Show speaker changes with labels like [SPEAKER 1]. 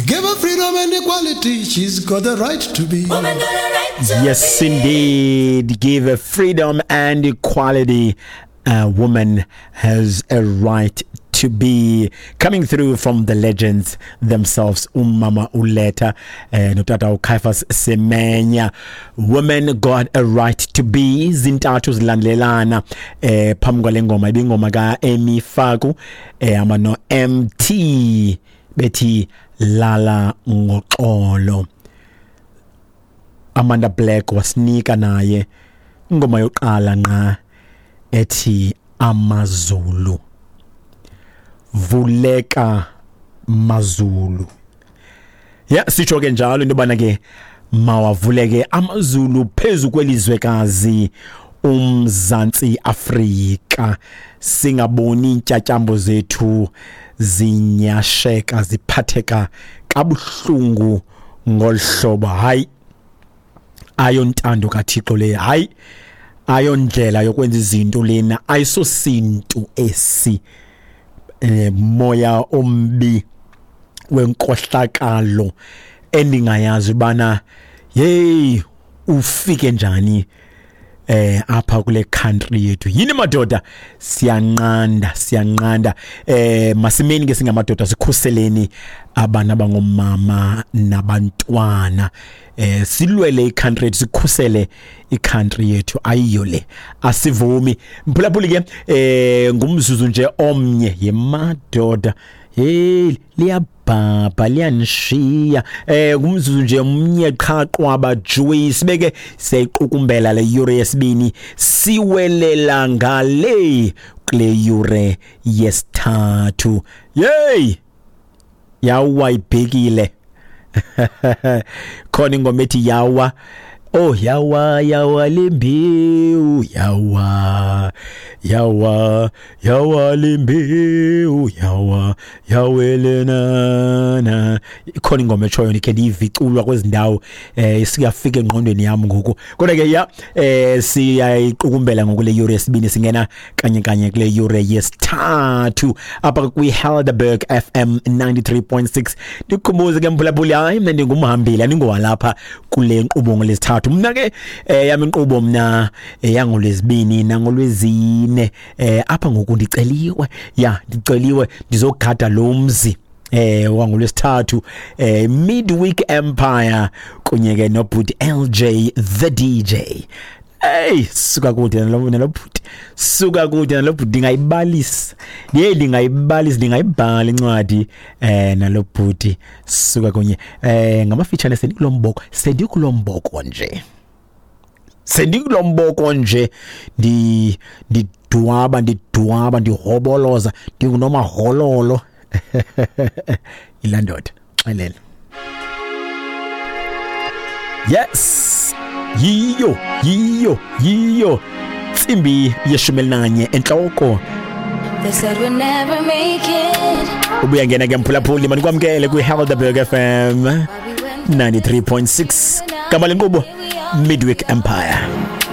[SPEAKER 1] Give her freedom and equality. She's got the right to be.
[SPEAKER 2] Woman got a right to
[SPEAKER 3] Yes,
[SPEAKER 2] be.
[SPEAKER 3] indeed. Give her freedom and equality. A woman has a right to be. Coming through from the legends themselves, Umama Uleta, notata uCaiphus Semenya. Women got a right to be. Zintathu zilandelelana phambi kwale ngoma ibingoma kaEmi Faku ama no MT bethi lala ngoxolo. Amanda Black wasinika naye ingoma yokuqala nqa ethi Amazulu, vuleka mazulu. Ya, sitsho ke njalo into yobana ke mawavuleke amazulu phezu kwelizwekazi uMzantsi Afrika, singaboni iintyatyambo zethu zinyasheka ziphatheka kabuhlungu ngolu hlobo. Hayi, ayontando kaThixo le, hayi ayondlela yokwenza izinto lena, ayisosintu esi. Moya ombi wenkohlakalo endingayazi ubana hey ufike njani apha kule country yethu. Yini madoda, siyanqanda, siyanqanda. Masimeni ke singamadoda, sikhuseleni abana abangomama nabantwana, silwele icountry yethu, sikhusele icountry yethu. Ayiyo le, asivumi mphulaphuli ke. Ngumzuzu nje omnye yemadoda, hey liyabhabha liyanishiya. Ngumzuzu nje omnye qha qwaba juice, sibeke siyayiqukumbela le yure yesibini, siwelela ngale kule yure yesithathu. Yey, yawa ibhekile khona ingoma ethi yawa. Oh, yawa yawa lembewu, yawa yawa yawa lembewu, yawa yawelenana. Ikhona ingoma etshoyo, ndikhe ndiyiviculwa kwezi ndawo, siyafika engqondweni yam ngoku. Kodwa ke ya, siyayiqukumbela ngoku le yure yesibini, singena kanye kanye kule yure yesithathu apha kwi-Helderberg FM 93.6. Ndikukhumbuze ke mphulaphuli, hayi mna ndingumhambili, andingowalapha kule nkqubo ngolwesithathu. Mna ke yam inkqubo mna yangolwezibini nangolwezine. Apha ngoku ndiceliwe, ya ndiceliwe ndizogada lo mzi wangolwesithathu, Midweek Empire kunye ke nobhuti LJ the DJ. Hey, suka kude nalo bhuti, suka kude nalo bhuti, ndingayibalisa ndiye ndingayibalisa, ndingayibhala incwadi nalo bhuti. Suka kunye ngamafitshane, sendikulomboko, sendikulomboko nje, sendikulomboko nje, ndidwaba ndidwaba ndihoboloza ndingunomahololo. Ilandoda xelele. Yes, yiyo yiyo yiyo ntsimbi yeshumi elinanye entloko.
[SPEAKER 2] They said we'd never make it.
[SPEAKER 3] Ubuya ngena ke mphulaphuli, manikwamkele kwi-Helderberg FM
[SPEAKER 2] But we went
[SPEAKER 3] 93.6. Gama lenkqubo Midweek Empire.